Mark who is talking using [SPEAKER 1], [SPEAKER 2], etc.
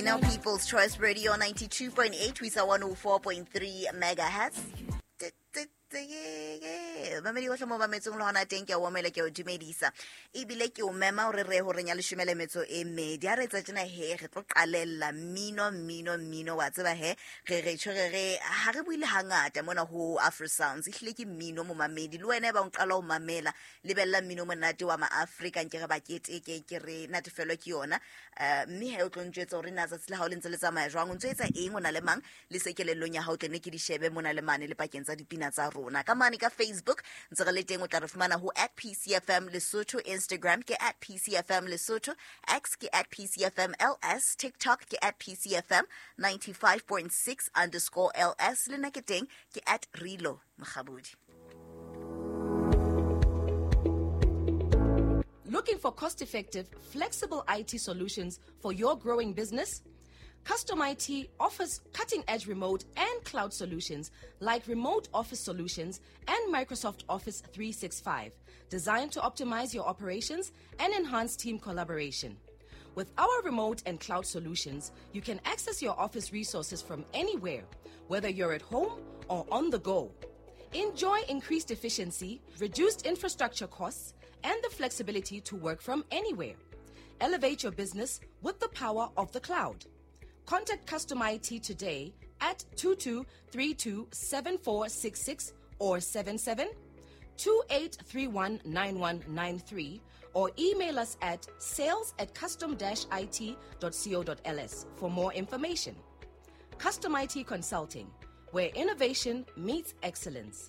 [SPEAKER 1] Now People's Choice Radio 92.8 ho isa 104.3 megahertz. Mamedi ohle mo mametseng le hona teng, ke a o omela, ke a o dumedisa, ebile ke o mema hore re horeng ya leshome le metso e mmedi. Ha re etsa tjena he, re tlo qalella mmino, mmino, mmino. Wa tseba he, re re tjho re re ha re buile hangata mona ho Afro Sounds, ehlile ke mmino. Momamedi le wena e bang o qala ho mamela, lebella mmino monate wa maafrika, nke re ba keteke, ke re natefelwe ke yona. Mme he, o tlo ntjwetsa hore na tsatsi la hao le ntse le tsamaya jwang, o ntso etsa eng, o na le mang le se kelellong ya hao, tle ne ke di shebe mona le mane le pakeng tsa dipina tsa rona. Ka mane ka Facebook ntse re le teng, o tla re fumana ho at PCFM Lesotho, Instagram ke at PCFM Lesotho, X ke at PCFM LS, TikTok ke at PCFM 95.6 underscore LS, le nna ke teng ke at Rilo Mokgabudi.
[SPEAKER 2] Looking for cost effective, flexible IT solutions for your growing business? Custom IT offers cutting edge remote and cloud solutions like remote office solutions and Microsoft Office 365, designed to optimize your operations and enhance team collaboration. With our remote and cloud solutions, you can access your office resources from anywhere, whether you're at home or on the go. Enjoy increased efficiency, reduced infrastructure costs, and the flexibility to work from anywhere. Elevate your business with the power of the cloud. Contact Custom IT today at 2232 7466 or 77 2831 9193 or email us at sales at custom-it.co.ls for more information. Custom IT Consulting, where innovation meets excellence.